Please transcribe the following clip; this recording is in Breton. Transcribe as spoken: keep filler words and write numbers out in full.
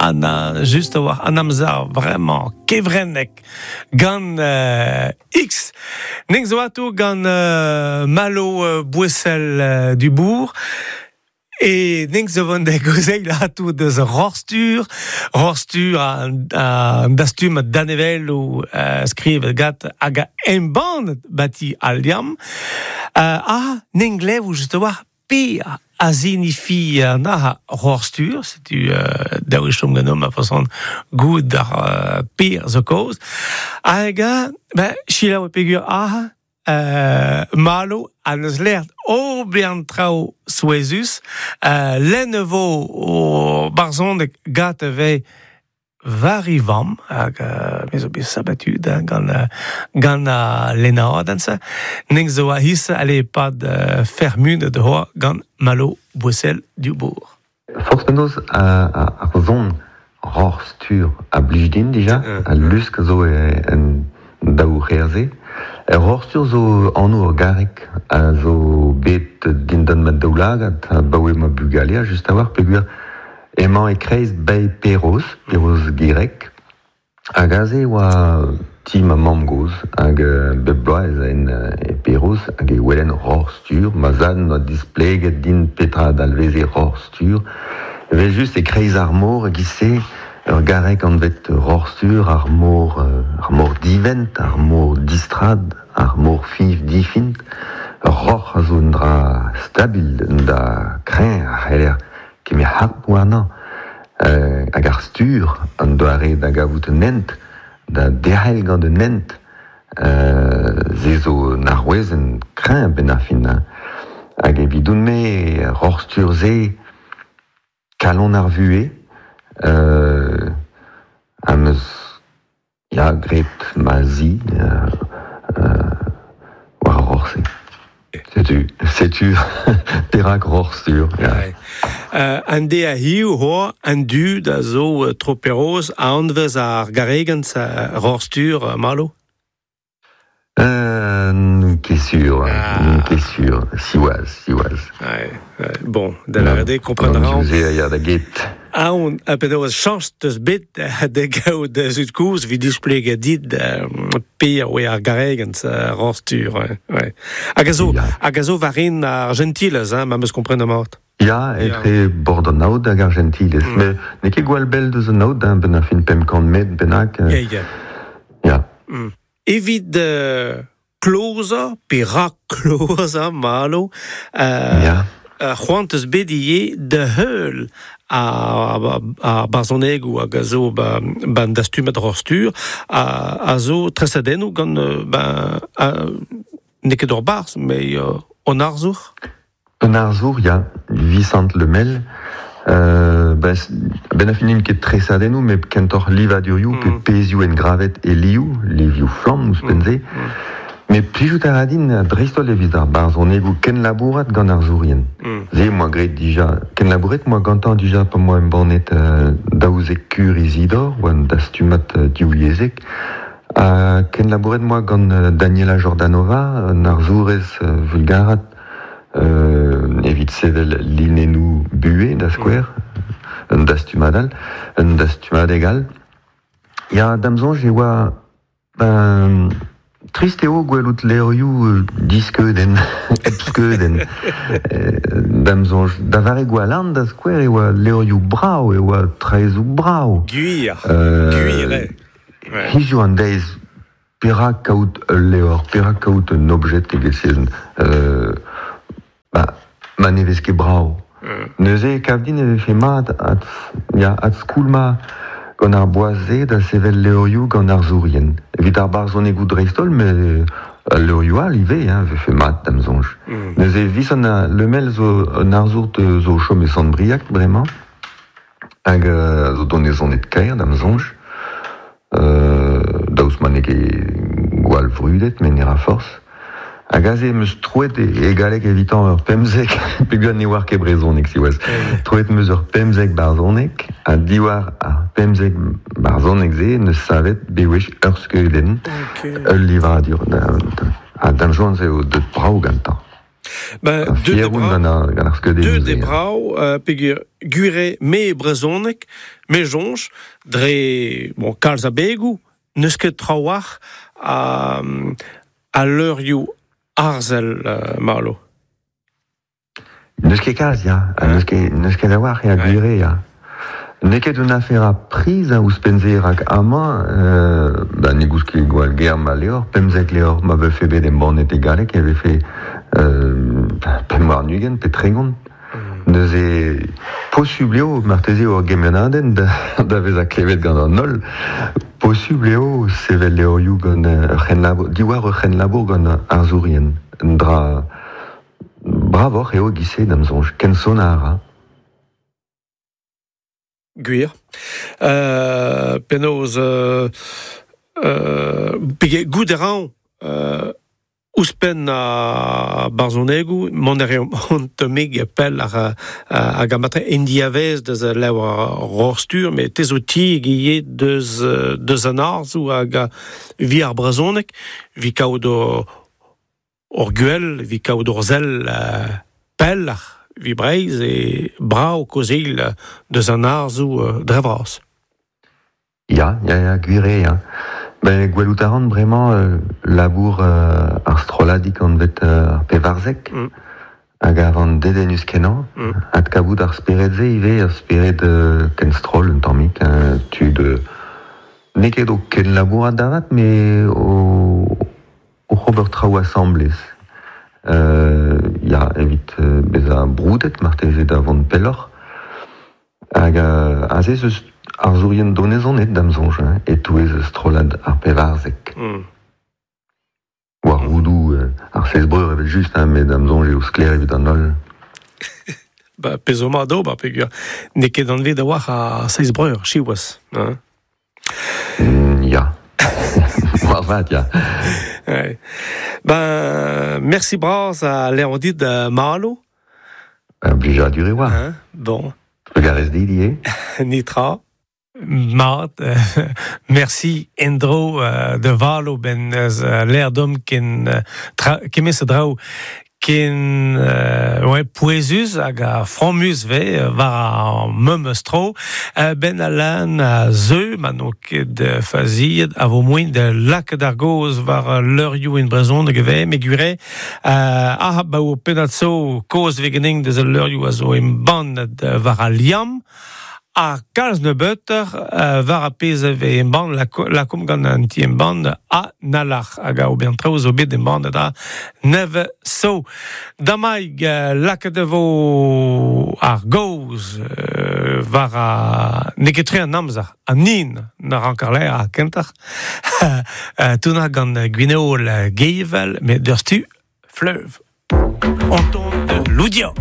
An a, just a war an amzer vraiment kevrennek gant euh, X. Ning zo ato gant euh, Malo euh, Bouessel euh, du Bourg. E ning zo vont da gozeil ato deus Rorstur, Rorstur a, a dastum danevel o euh, skriv gat hag a embann bati al liamm. Euh, a ning lev just a war pe a zinifi an aha Rorstur, setu euh, daou chom ganom a fason goud ar euh, per zo koz. Hag a, ben, chilaou e pegur aha, Euh, Malo an eus lert o bean traoù souezus, euh, len vo o barzhoneg gat ve varivam, hag euh, me zo bet sabatu da, gant, euh, gant a lenadenn se, ning zo a his ale pad euh, fermune de hoa gant Malo Bouessel du Bourg. Forzh penaos a, a, ar zon ror stur a blij din dija, a lusk zo e, en daou c'herze. Er ror-stur zo anv ur garreg a zo bet dindan ma daoulagad a baoe ma bugalea just a war peogwir emañ e kreiz bae Perroz, Perroz Gireg, hag aze oa ti ma mamm-gozh hag euh, bep bloaz ez aen e Perroz hag e welen ror-stur, ma zad n'oa displeget din petra dalveze ror-stur. Evel just e kreiz ar mor e-giz-se ur garreg anvet ror-stur, ar mor, ar mor divent, ar mor distrad, ar mor fiñv difiñv. Ur roc'h a zo un dra stabil, un dra kreñv a c'heller kemer harp warnañ. Euh, hag ar stur, an doare da gavout un hent, da derc'hel gant un hent, euh, se zo un arouezenn kreñv benn ar fin. Hag evidoun-me, ror-stur-se, kalon ar vuhez, euh, am eus ya graet ma zi euh, euh, war ar roc'h-se. Setu, setu perak ror-stur. Ya. Ouais. Euh, an de a hiu hoa an dud a zo tro Perroz a anvez ar garregenn sa ror-stur euh, Malo? Euh, n'on ket sur, Ah. n'on ket sur, siwazh, siwazh. Ouais, ouais. Bon, da lâret eo kompren a ran. An a ya da get. Aon, a penaos chañs teus bet da gaout da zud kozh evit displegañ dit euh, per oe ar garregenn sa ror-stur. Ouais, ouais. Hag a zo, Ya. hag a zo war en ar Jentilez, hein, ma 'm eus komprenet mat. Ya, etre bord an aod hag ar Jentilez. Mm. Met n'eo ket gwall bell deus an aod, hein, benn ar fin pemp kant metr bennak. Ya, ya. Ya. Mm. Evit euh, klozañ, pe rak-klozañ, Malo, euh, Ya. euh, c'hoant eus bet ivez da heul a, a, a barzhonegoù hag a zo ba, ban dastumad ror-stur a, a zo tresadennoù gant euh, ba, a, n'eo ket ur barzh, met euh, an arzour. Un arzour, ya, Visant Lemel, euh, ba, benn ar fin n'int ket tresadennoù, met kentoc'h livadurioù Mm. pe pezhioù engravet e liv, livioù flamm ouzhpenn-se. Mm. Met plijout a ra din dreist-holl evit ar barzhonegoù kenlabourat gant arzourien. Mm. Se 'm boa graet dija, kenlabouret 'm boa gantañ dija pa 'm boa embannet euh, daouzek kur Izidor, oa un dastumad euh, divyezhek. Ha kenlabouret 'm boa gant euh, Daniela Jordanova, un arzourez euh, vulgarat, euh, evit sevel linennoù buhez da skouer, un dastumad all, un dastumadeg all. Ya, da'm soñj e oa ben, trist eo gwelout levrioù euh, diskeudenn, hep skeudenn. Euh, da'm soñj, da vare Gwalarn da skouer e oa levrioù brav, e oa traezoù brav. Gwir, Euh, gwir, eo. Ouais. Hiziv an deiz, perak kaout ul levr, perak kaout un objet evel-se, euh, ba, ma ne vez ket brav. Mm. Neuze e kav din e vefe mat ad, ya, adskoulmañ gant ar boaz-se da sevel levrioù gant arzourien. Evit ar barzhonegoù dreist-holl, met al levrioù all ivez, hein, vefe mat da'm soñj. Mm. Neuze Visant Lemel zo un arzour de, zo o chom e Sant-Briag bremañ, hag euh, zo donezonet kaer da'm soñj. Euh, daoust ma n'eo ket gwall vrudet, met ne ra forzh. Hag aze 'm eus troet e, e galleg evitañ ur pemzek, peogwir ne oar ket brezhoneg siwazh. Troet 'm eus ur pemzek barzhoneg, ha diwar ar pemzek barzhoneg-se 'neus savet bewech ur skeudenn, Ok. ul livadur. Da, da, ha da'm soñj eo deut brav gantañ. Ben, fier oun gant ar, gant ar skeudennoù. Deut eo brav, euh, peogwir gwir eo me brezhoneg, me soñj, dre bon, kalz abegoù, n'eus ket trawalc'h a, a leurioù arzel, euh, Malo. N'eus ket kalz, ya. N'eus ket, n'eus ket a-walc'h, ya, gwir eo, ya. N'eo ket un afer a priz a ouzhpenn-se rak amañ, euh, ba, ne goust ket gwall ger ma levr, pemzek levr ma vefe bet embannet e galleg e vefe euh, pemp warn-ugent pe tregont. Mm. Neuze posubl eo marteze ur gemennadenn da, da vezañ klevet gant an holl. Posubl eo sevel levrioù gant ur c'henlabour, diwar ur c'henlabour gant arzourien. Un dra bravoc'h eo e-giz-se da'm soñj, ken sonnañ a ra. Gwir. Euh, penaos euh, euh, pege goût a ran euh, ouzhpenn a barzhonegoù mont a reomp hon tammig pell ar hag a matre en diavez deus levr Roc'h-Stur, met te zo tieg ivez deus deus an arzoù hag vi ar brezhoneg, vi kaout ur gwell, vi kaout ur sell pell vi Breizh e brav kaozeal deus an arzoù dre vras. Ya, ya, ya, gwir eo, ya. Ben, gwelout a ran bremañ euh, labour euh, ar strolladig anvet euh, ar pevarzek, mm. hag a van dedennus kenañ, mm. adkavout ar spered-se ivez, ar spered euh, ken stroll un tammig, hein, tud euh, n'eo ket o kenlabourat da vat, met o, o ober traoù asambles. Euh, ya, evit euh, bezañ broudet marteze da vont pelloc'h. Hag euh, aze ez eus arzourien donezonet da'm soñj, hein, e-touez strollad ar pevarzek. Mm. War roudoù euh, ar seiz breur evel just, hein, met da'm soñj eo sklaer evit an holl. Ba, pezh zo mat d'ober, peogwir n'eo ket anvet a-walc'h ar seiz breur, siwazh. Hein. Mm, ya. Moarvat, ya. Ouais. Ben, mersi bras a lâran dit uh, Malo. Un blijadur e oa. Hein, bon. Trugarez dit ivez. Netra. Mat, merci en-dro uh, da Valo ben uh, lâr deomp ken uh, tra, kement a draoù ken euh, ouais, pouezus hag a fromus ve war ar memes tro euh, ben alan a zeu ma n'on ket faziet a vo moaien da lakaat ar gaoz war leurioù en brezhoneg ve me gwir eo euh, ah ba o pennad zo kaoz ve ganin deus al leurioù a zo embannet war al Liamm ha kalz nebeutoc'h uh, war ar pezh a vez embann lakaomp gant an ti embann a Alalc'h hag a ober traoù zo bet embannet a nevez zo. Damaig uh, lakaet e vo ar gaoz uh, war a n'eo ket tre an amzer an hin na rank ar lâr ar kentoc'h uh, tournañ gant Gwenola Gevel met deus tu fleuve. On ton de Loudia.